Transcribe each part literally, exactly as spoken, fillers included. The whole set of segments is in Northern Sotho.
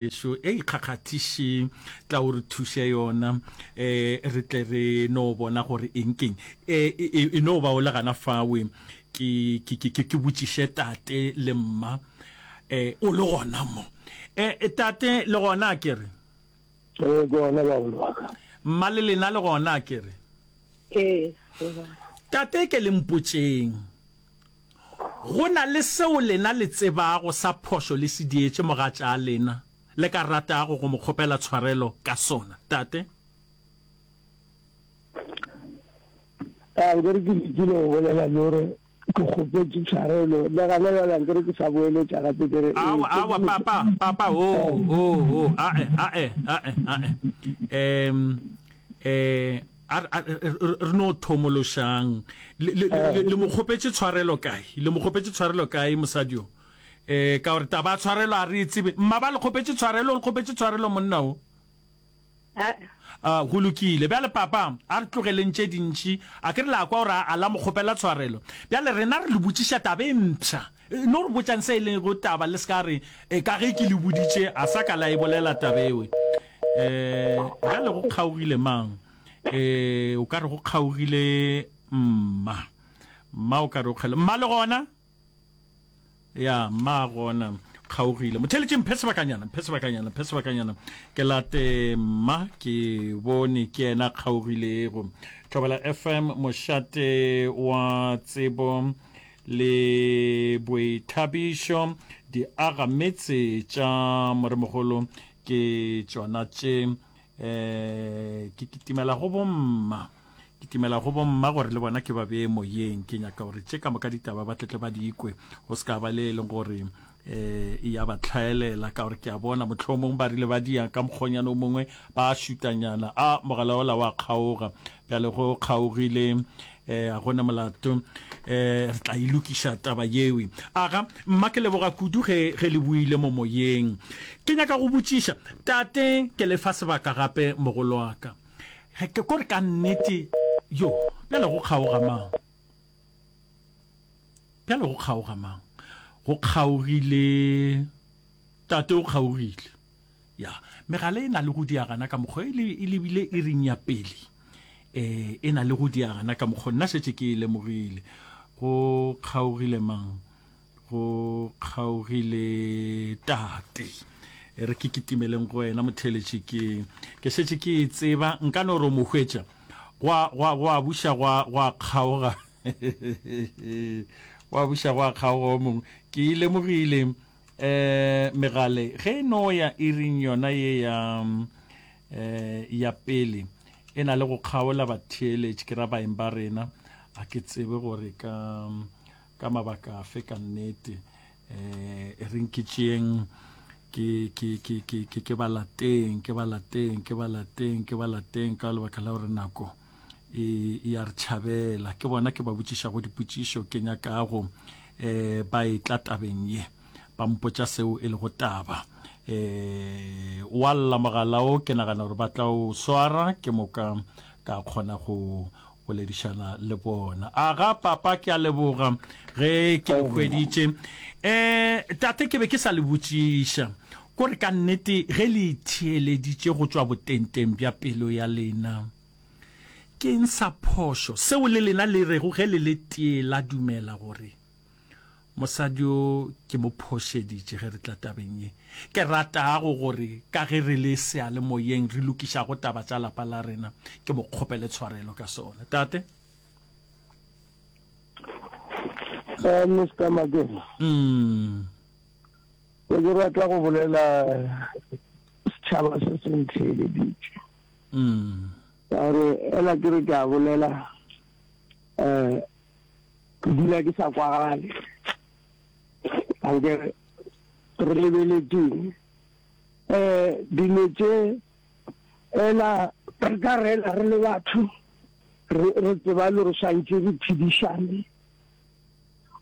Ešo e ikgakgathiše, tla o re thuše yona, e, re tle re no bona gore eng keng. E, e, e no ba o le gana fawe, ke, ke, ke, ke, ke botšiše tate le mma, e, o le gona mo. E, tate, le gona a ke re? Ee, ke gona, bagolo ba ka. Mma le lena le gona a ke re? Ee, re gona. Tate, ke le mpotšeng, Go na le seo lena le tsebago sa phošo le se dietše mogatša lena le ka ratago go mo kgopela tshwarelo ka sona, Tate? A nkere ke lekile go bolela le gore ke kgopetše tshwarelo, le gana bjale a nkere ke sa boeletša gape ke re, ee, Aowa, aowa, papa, papa, oo, oo, oo, ae, ae, ae, ae. Em, eh, A re no thomološang. Le, le, le, le mo kgopetše tshwarelo kae? Le mo kgopetše tshwarelo kae mosadi yo? Eh, ka gore taba ya tshwarelo a re e tsebe. Mma ba le kgopetše tshwarelo, o le kgopetše tshwarelo monna o? A, go lokile. Bjale papa, a re tlogeleng tše dintši. A ke re la kwa gore a, a la mo kgopela tshwarelo. Bjale rena re le botšiša taba e mpsha. No re botšang se e lego taba, le se ka re, E, ka ge ke le boditše, a sa ka la e bolela taba ewe. E, bjale go kgaogile mang? E, o ka re go kgaogile mma. Mma o ka re o kgele. Mma le gona? Ya, mma gona. Kgaogile. Motheletše mphe sebakanyana, mphe sebakanyana, mphe sebakanyana. Ke late mma, ke bone ke yena kgaogilego. Thobela F M, mošate wa tsebo. Le boithabišo, diagametse tša moremogolo ke tšona tše. Um ke kitimela go bomma, kitimela go bomma gore le bona ke ba bee moyeng. Ke nyaka gore tše ka moka ditaba ba tletle ba di kwe, go se ka ba le e leng gore um e ya ba tlhaelela, ka gore ke a bona mohlomong ba rile ba dia ka mokgonyana o mongwe ba šutanyana, a mogala ola wa kgaoga. Bjale go kgaogile eh, a gona molato, eh, re tla e lokiša taba yewe. Aga, mma ke leboga kudu ge, ge le buile mo moyeng. Ke nyaka go botšiša, tate, ke le fa sebaka gape mogolo wa ka. Ge ke kore ka nnete, yo, bjale go kgaoga mang? Bjale go kgaoga mang? Go kgaogile, tate o kgaogile. Ya, megala e na le go diagana ka mokgwa e le, e lebile iring ya pele. E, e na le go diagana ka mokgwa, nna šetše ke e lemogile. Go kgaogile mang? Go kgaogile tate. E re ke kitimeleng go wena motheeletši, ke, ke šetše ke e tseba, nka no re o mo hwetša. Gwa, gwa, gwa buša gwa, gwa kgaoga. Gwa buša gwa kgaoga o mongwe. Ke e lemogile. Eh, megale ge e no ya iring yona ye ya, eh, ya pele, e na le go kgaola batheeletši, ke ra baeng ba rena. A ke tsebe gore ka, ka mabaka afe ka nnete. Eh, e reng ke tšeeng, ke, ke, ke, ke, ke, ke ba lateng, ke ba lateng, ke ba lateng, ke ba lateng, ka lebaka la gore nako e, e a re tšhabela. Ke bona ke ba botšišago dipotšišo, ke nyakago eh, ba etla tabeng ye, ba mpotša seo e lego taba. Eh, wa lla mogala o, ke nagana gore ba tla o swara, ke moka ka kgona go boledišana le bona. Aga papa, ke a leboga ge ke le hweditše. Eh, tate, ke be ke sa le botšiša kore ka nnete ge le itheeleditše go tšwa botengteng bja pelo ya lena, Ke eng sa phošo seo le lena le rego ge le le tee la dumela gore mosadi yo ke mo phošeditše ge re tla tabeng ye? Ke ratago gore ka ge re le seyalemoyeng re lokišago taba tša lapa la rena, ke mo kgopele tshwarelo ka sona. Tate? Eh, Mister Makena. Mm. Ke ke rata go bolela setšhaba se se ntheeleditše. Mm. Ka gore ela ke re ke a bolela, um ke dula ke sa kwagale. Ankere re lebeletšeng um dilo tše ela re ka rela re le batho re re tseba le gore swantše re phedišane.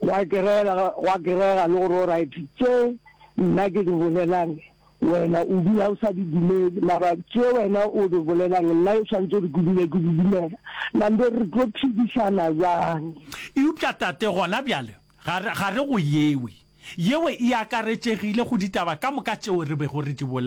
Gwa kerega, gwa kerega le gore alright, tše nna ke di bolelang wena o dula o sa di dumele, mara tše wena o di bolelang nna e swantše gore ke dule ke di dumela. Nambe re tlo phedišana bjang? Eupša Tate, gona bjale ga re, ga re go yewe. Yeo e akaretšegile go ditaba ka moka tšeo re bego re di bolela.